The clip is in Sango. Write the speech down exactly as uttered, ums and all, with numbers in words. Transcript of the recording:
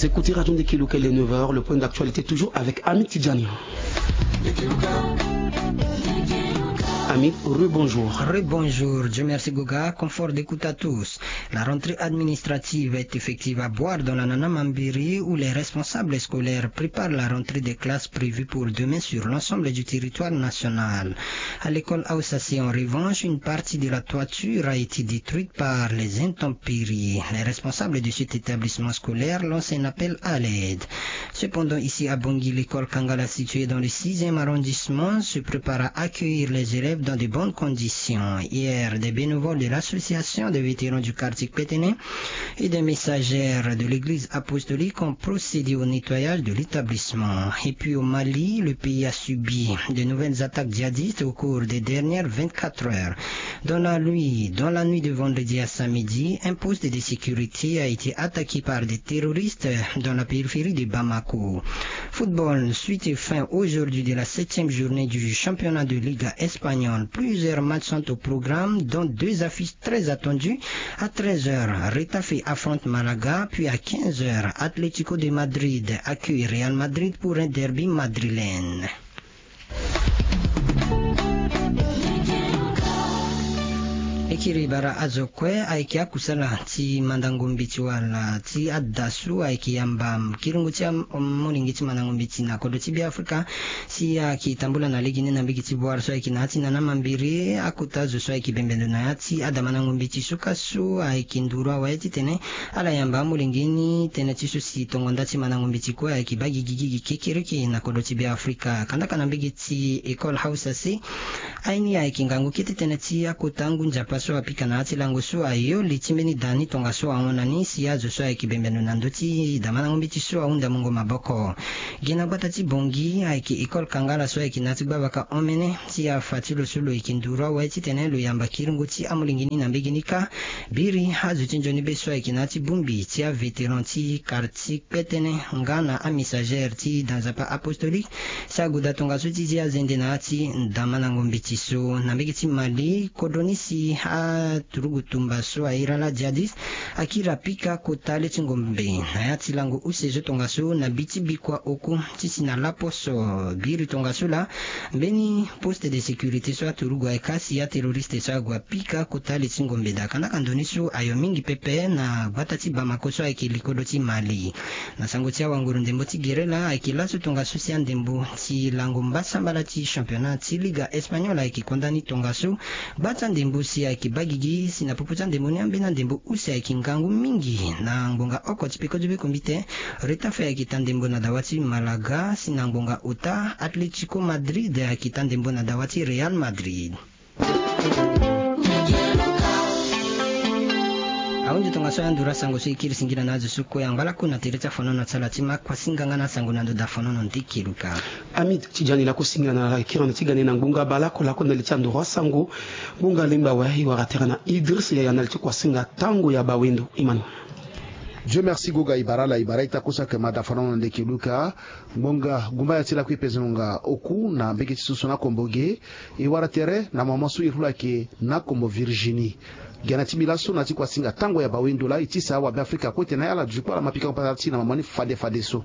Écoutez Radio Ndekeluka, il est neuf heures, le point d'actualité toujours avec Amit Tidjani. Amit, rebonjour. Rebonjour, Dieu merci Goga, confort d'écoute à tous. La rentrée administrative est effective à Boar dans la Nanamambiri où les responsables scolaires préparent la rentrée des classes prévue pour demain sur l'ensemble du territoire national. À l'école Aoussassi, en revanche, une partie de la toiture a été détruite par les intempéries. Les responsables de cet établissement scolaire lancent un appel à l'aide. Cependant, ici à Bangui, l'école Kangala, située dans le sixième arrondissement, se prépare à accueillir les élèves dans de bonnes conditions. Hier, des bénévoles de l'association des vétérans du quartier Kpéténé et des messagères de l'église apostolique ont procédé au nettoyage de l'établissement. Et puis au Mali, le pays a subi de nouvelles attaques djihadistes au cours des dernières vingt-quatre heures. Dans la nuit, dans la nuit de vendredi à samedi, un poste de sécurité a été attaqué par des terroristes dans la périphérie de Bamako. Football, suite et fin aujourd'hui de la septième journée du championnat de Liga espagnole. Plusieurs matchs sont au programme, dont deux affiches très attendues. À treize heures, Retafe affronte Malaga, puis à quinze heures, Atlético de Madrid accueille Real Madrid pour un derby madrilène. E kiri bara azo kue ayeke akusala ti mandango mbeti wala ti ada so ayeke yamba kiringo ti amolenge ti mandango mbeti na kodro ti Beafrika. Si ayeke tambula na lege ni na mbege ti Boar so ayeke na ya ti Nanamambiri, akota azo so ayeke bembe ndo na ya ti ada mandango mbeti so ka so ayeke nduru awe titene ala yamba amolenge ni tënë ti so si tongo nda ti mandango mbeti kue ayeke baa gigigigi kekereke na kodro ti Beafrika. Kandaka na mbege ti école Hausa se, aye ni ayeke ngangu kete tënë ti akota ngu nzapa so apika na ya ti lango so ayo li ti mbeni da ni tongaso ahon na ni si azo so ayeke bembe ndo na ndö ti da mandango mbeti so ahunda mungo maboko. Gi na gbata ti Bangui ayeke école Kangala so ayeke na ya ti gbavaka omene si afa ti lo so lo yeke nduru awe titene lo yamba kiringo ti amolenge ni na mbege ni kâ. Biri azo ti nzoni be so ayeke na ya ti bongbi ti avétéran ti quartier Kpéténé nga na amessager ti da nzapa apostolique si ague daa tongaso ti zi azende na ya ti da mandango mbeti so. Na mbege ti Mali, kodro ni si aturugu tumba so ahiri ala djihadiste akiri apika kota le ti ngombe na ya ti lango use zo tongaso na bi ti bikua oku ti si na laposo. Biri tongaso laa mbeni poste de sécurité so aturugu ayeke asi aterroriste so ague apika kota le ti ngombe daa. Kandaka ndo ni so ayo mingi pepe na gbata ti Bamako so ayeke likodo ti Mali. Na sango ti awanguru ndembo ti gere laa ayeke laso tongaso si andembo ti lango mbasambala ti championnat ti Liga espagnole ayeke konda ni tongaso. Gba ti andembo si ayeke baa gigi si na popo ti andembo ni ambeni andembo use ayeke ngangu mingi na ngbonga oko ti peko ti be kombite. Retafe ayeke taa ndembo na dawa ti Malaga si na ngbonga ota Atlético Madrid ayeke taa ndembo na dawa ti Real Madrid. Ahunzi tongaso ayanduru asango so e kiri singila na azo so kue angba lakue na tere ti afonono ti ala ti ma kuasinga nga na asango na ndo da fonono ndeke luka. Amit Tidjani, lako singila na kiri na ti gane na ngbonga bale oko lako na li ti anduru asango. Ngbonga lengba awe e wara tere na Idriss Yaya na li ti kuasinga tango ya bawendo. Emmanuel. Dieu merci Goga, e bara ala e bara ita kusa ke ma da fonono ndeke luka. Ngbonga gumba ya ti lakue e peze ngonga oku na mbege ti susu na kombo ge. E wara tere na mama so e hula ke na kombo Virginie. Gi na ti mbi laso na ti kuasinga tango ya bawendo laa e tisa awabe Afrika kue tene ala duti kue ala ma pika patara ti na mama ni fade fade so.